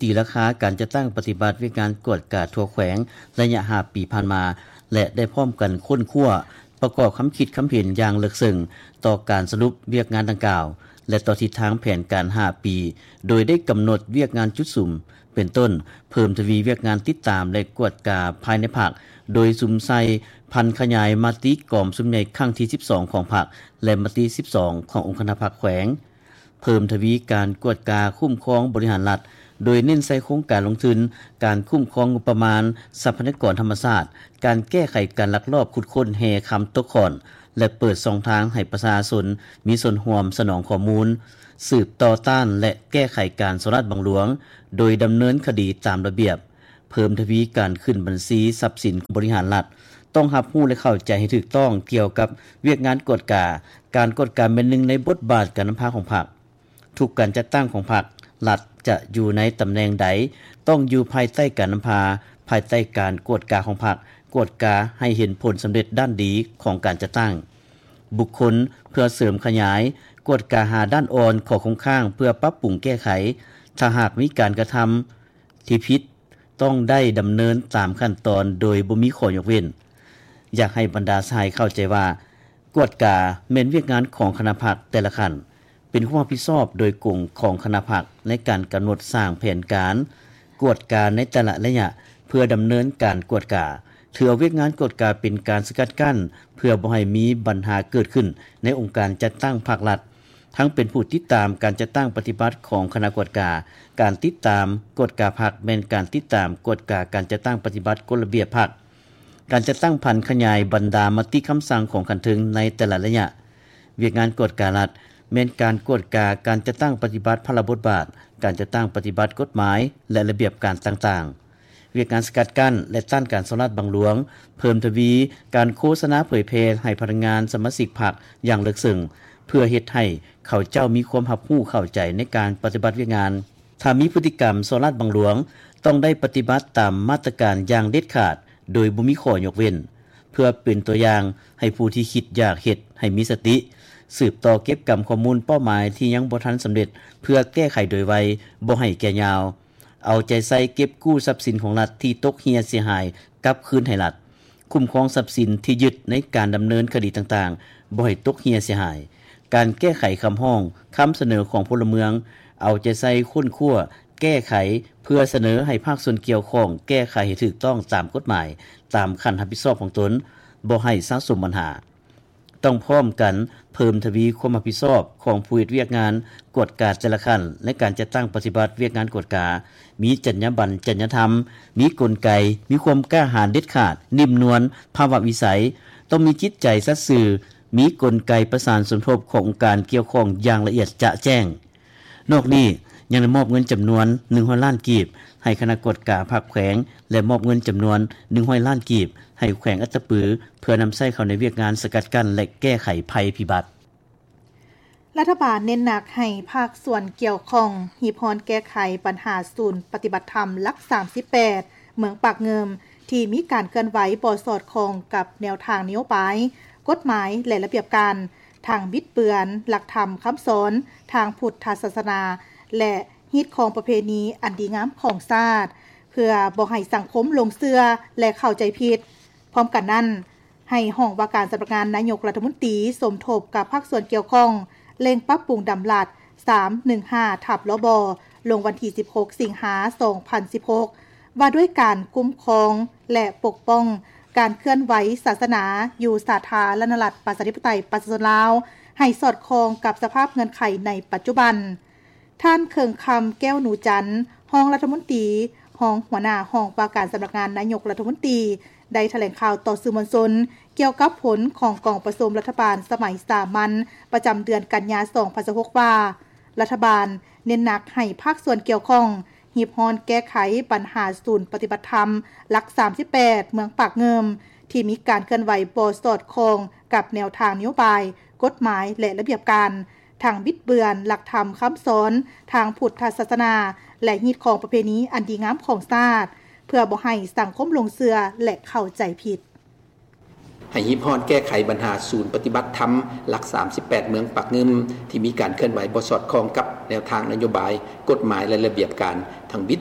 ຕີລາຄາການຈັດຕັ້ງປະຕິບັດວຽກງານກວດກາທົ່ວແຂວງໄລຍະຫ້າປີຜ່ານມາ ແລະ ໄດ້ພ້ອມກັນຄົ້ນຄວ້າ ປະກອບຄຳຄິດຄຳເຫັນຢ່າງເລິກເຊິ່ງຕໍ່ການສະຫຼຸບວຽກງານດັ່ງກ່າວ ແລະ ຕໍ່ທິດທາງແຜນການຫ້າປີ ໂດຍໄດ້ກຳນົດວຽກງານຈຸດສຸມ ເປັນຕົ້ນ ເພີ່ມທະວີວຽກງານຕິດຕາມ ແລະ ກວດກາພາຍໃນພັກ ໂດຍສຸມໃສ່ຜັນຂະຫຍາຍມະຕິກອງປະຊຸມໃຫຍ່ຄັ້ງທີສິບສອງຂອງພັກ ແລະ ມະຕິສິບສອງຂອງອົງຄະນະພັກແຂວງ, ເພີ່ມທະວີການກວດກາຄຸ້ມຄອງບໍລິຫານລັດ ໂດຍເນັ້ນໃສ່ໂຄງການລົງທຶນ, ການຄຸ້ມຄອງງົບປະມານ, ຊັບພະຍາກອນທຳມະຊາດ, ການແກ້ໄຂການລັກລອບຂຸດຄົ້ນແຮ່ຄຳຕົກຂ້ອນ ແລະ ເປີດຊ່ອງທາງໃຫ້ປະຊາຊົນມີສ່ວນຮ່ວມສະໜອງຂໍ້ມູນ, ສືບຕໍ່ຕ້ານ ແລະ ແກ້ໄຂການສໍ້ລາດບັງຫຼວງ ໂດຍດຳເນີນຄະດີຕາມລະບຽບ, ເພີ່ມທະວີການຂຶ້ນບັນຊີຊັບສິນຂອງບໍລິຫານລັດ, ຕ້ອງຮັບຮູ້ ແລະ ເຂົ້າໃຈໃຫ້ຖືກຕ້ອງກ່ຽວກັບວຽກງານກວດກາ. ການກວດກາແມ່ນໜຶ່ງໃນບົດບາດການນຳພາຂອງພັກ. ທຸກການຈັດຕັ້ງຂອງພັກລັດຈະຢູ່ໃນຕຳແໜ່ງໃດ ຕ້ອງຢູ່ພາຍໃຕ້ການນຳພາ, ພາຍໃຕ້ການກວດກາຂອງພັກ, ກວດກາໃຫ້ເຫັນຜົນສຳເລັດດ້ານດີຂອງການຈັດຕັ້ງບຸກຄົນ ເພື່ອເສີມຂະຫຍາຍ, ກວດກາຫາດ້ານອ່ອນ, ຂໍ້ຄົງຄ້າງ ເພື່ອປັບປຸງແກ້ໄຂ. ຖ້າຫາກມີການກະທຳທີ່ຜິດ ຕ້ອງໄດ້ດຳເນີນຕາມຂັ້ນຕອນໂດຍບໍ່ມີຂໍ້ຍົກເວັ້ນ. ຢາກໃຫ້ບັນດາສະຫາຍເຂົ້າໃຈວ່າ ກວດກາແມ່ນວຽກງານຂອງຄະນະພັກແຕ່ລະຂັ້ນ, ເປັນຄວາມຮັບຜິດຊອບໂດຍກົງຂອງຄະນະພັກໃນການກຳນົດສ້າງແຜນການກວດກາໃນແຕ່ລະໄລຍະ ເພື່ອດຳເນີນການກວດກາ. ຖືເອົາວຽກງານກວດກາເປັນການສະກັດກັ້ນ ເພື່ອບໍ່ໃຫ້ມີບັນຫາເກີດຂຶ້ນໃນອົງການຈັດຕັ້ງພັກລັດ, ທັງເປັນຜູ້ຕິດຕາມການຈັດຕັ້ງປະຕິບັດຂອງຄະນະກວດກາ. ການຕິດຕາມກວດກາພັກ ແມ່ນການຕິດຕາມກວດກາການຈັດຕັ້ງປະຕິບັດກົດລະບຽບພັກ. ການຈັດຕັ້ງຜັນຂະຫຍາຍບັນດາມະຕິຄຳສັ່ງຂອງຂັ້ນເທິງໃນແຕ່ລະໄລຍະ. ວຽກງານກວດກາລັດ ແມ່ນການກວດກາການຈັດຕັ້ງປະຕິບັດພາລະບົດບາດ, ການຈັດຕັ້ງປະຕິບັດກົດໝາຍ ແລະ ລະບຽບການຕ່າງໆ. ວຽກງານສະກັດກັ້ນ ແລະ ຕ້ານການສໍ້ລາດບັງຫຼວງ, ເພີ່ມທະວີການໂຄສະນາເຜີຍແຜ່ໃຫ້ພະນັກງານສະມາຊິກພັກຢ່າງເລິກເຊິ່ງ ເພື່ອເຮັດໃຫ້ເຂົາເຈົ້າມີຄວາມຮັບຮູ້ເຂົ້າໃຈໃນການປະຕິບັດວຽກງານ. ຖ້າມີພຶດຕິກຳສໍ້ລາດບັງຫຼວງ, ຕ້ອງໄດ້ປະຕິບັດຕາມມາດຕະການຢ່າງເດັດຂາດ ໂດຍບໍ່ມີຂໍ້ຍົກເວັ້ນ, ເພື່ອເປັນຕົວຢ່າງໃຫ້ຜູ້ທີ່ຄິດຢາກເຮັດໃຫ້ມີສະຕິ, ສືບຕໍ່ເກັບກຳຂໍ້ມູນເປົ້າໝາຍທີ່ຍັງບໍ່ທັນສຳເລັດ ເພື່ອແກ້ໄຂໂດຍໄວ, ບໍ່ໃຫ້ແກ່ຍາວ. ເອົາໃຈໃສ່ເກັບກູ້ຊັບສິນຂອງລັດທີ່ຕົກເຮ່ຍເສຍຫາຍກັບຄືນໃຫ້ລັດ, ຄຸ້ມຄອງຊັບສິນທີ່ຍຶດໃນການດຳເນີນຄະດີຕ່າງໆ ບໍ່ໃຫ້ຕົກເຮ່ຍເສຍຫາຍ. ການແກ້ໄຂຄຳຮ້ອງ, ຄຳສະເໜີຂອງພົນລະເມືອງ, ເອົາໃຈໃສ່ຄົ້ນຄວ້າ, ແກ້ໄຂ ເພື່ອສະເໜີໃຫ້ພາກສ່ວນກ່ຽວຂ້ອງແກ້ໄຂໃຫ້ຖືກຕ້ອງຕາມກົດໝາຍ, ຕາມຂັ້ນຮັບຜິດຊອບຂອງຕົນ, ບໍ່ໃຫ້ສະສົມບັນຫາ. ຕ້ອງພ້ອມກັນເພີ່ມທະວີຄວາມຮັບຜິດຊອບຂອງຜູ້ເຮັດວຽກງານກວດກາແຕ່ລະຂັ້ນໃນການຈັດຕັ້ງປະຕິບັດວຽກງານກວດກາ, ມີຈັນຍາບັນ, ຈັນຍາທຳ, ມີກົນໄກ, ມີຄວາມກ້າຫານເດັດຂາດ, ນິ່ມນວນ, ພາວະວິໄສ, ຕ້ອງມີຈິດໃຈສັດຊື່, ມີກົນໄກປະສານສົມທົບຂອງອົງການກ່ຽວຂ້ອງຢ່າງລະອຽດຈະແຈ້ງ. ນອກນີ້ຍັງໄດ້ມອບເງິນຈຳນວນໜຶ່ງຮ້ອຍລ້ານກີບໃຫ້ຄະນະກວດກາພັກແຂວງ ແລະ ມອບເງິນຈຳນວນໜຶ່ງຮ້ອຍລ້ານກີບໃຫ້ແຂວງອັດຕະປື ເພື່ອນຳໃຊ້ເຂົ້າໃນວຽກງານສະກັດກັ້ນ ແລະ ແກ້ໄຂໄພພິບັດ. ລັດຖະບານເນັ້ນໜັກໃຫ້ພາກສ່ວນກ່ຽວຂ້ອງຮີບຮ້ອນແກ້ໄຂບັນຫາສູນປະຕິບັດທຳຫຼັກສາມສິບແປດ ເມືອງປາກງື່ມ ທີ່ມີການເຄື່ອນໄຫວບໍ່ສອດຄ່ອງກັບແນວທາງນະໂຍບາຍ, ກົດໝາຍ ແລະ ລະບຽບການ, ທັງບິດເບືອນຫຼັກທຳຄຳສອນທາງພຸດທະສາສະໜາ ແລະ ຮີດຄອງປະເພນີອັນດີງາມຂອງຊາດ ເພື່ອບໍ່ໃຫ້ສັງຄົມຫຼົງເຊື່ອ ແລະ ເຂົ້າໃຈຜິດ. ພ້ອມກັນນັ້ນ, ໃຫ້ຫ້ອງວ່າການສຳນັກງານນາຍົກລັດຖະມົນຕີ ສົມທົບກັບພາກສ່ວນກ່ຽວຂ້ອງ ເລັ່ງປັບປຸງດຳລັດ ສາມໜຶ່ງຫ້າ ທັບ ລບ ລົງວັນທີ ສິບຫົກ ສິງຫາ ສອງພັນສິບຫົກ ວ່າດ້ວຍການຄຸ້ມຄອງ ແລະ ປົກປ້ອງການເຄື່ອນໄຫວສາສະໜາຢູ່ສາທາລະນະລັດ ປະຊາທິປະໄຕ ປະຊາຊົນລາວ ໃຫ້ສອດຄ່ອງກັບສະພາບເງື່ອນໄຂໃນປັດຈຸບັນ. ທ່ານ ເຄິ່ງຄຳ ແກ້ວໜູຈັນ ຮອງລັດຖະມົນຕີ, ຮອງຫົວໜ້າຫ້ອງວ່າການສຳນັກງານນາຍົກລັດຖະມົນຕີ ໄດ້ຖະແຫຼງຂ່າວຕໍ່ສື່ມວນຊົນ ກ່ຽວກັບຜົນຂອງກອງປະຊຸມລັດຖະບານສະໄໝສາມັນ ປະຈຳເດືອນກັນຍາ ສອງພັນຊາວຫົກ ວ່າ ລັດຖະບານເນັ້ນໜັກໃຫ້ພາກສ່ວນກ່ຽວຂ້ອງ ຮີບຮ້ອນແກ້ໄຂບັນຫາສູນປະຕິບັດທຳຫຼັກ ສາມສິບແປດ ເມືອງປາກງື່ມ ທີ່ມີການເຄື່ອນໄຫວບໍ່ສອດຄ່ອງກັບແນວທາງນະໂຍບາຍ, ກົດໝາຍ ແລະ ລະບຽບການ, ທັງບິດເບືອນຫຼັກທຳຄຳສອນທາງພຸດທະສາສະໜາ ແລະ ຮີດຄອງປະເພນີອັນດີງາມຂອງຊາດ ເພື່ອບໍ່ໃຫ້ສັງຄົມຫຼົງເຊື່ອ ແລະ ເຂົ້າໃຈຜິດ. ໃຫ້ຮີບຮ້ອນແກ້ໄຂບັນຫາສູນປະຕິບັດທຳຫຼັກ ສາມສິບແປດ ເມືອງປາກງື່ມ ທີ່ມີການເຄື່ອນໄຫວບໍ່ສອດຄ່ອງກັບແນວທາງນະໂຍບາຍ, ກົດໝາຍ ແລະ ລະບຽບການ, ທັງບິດ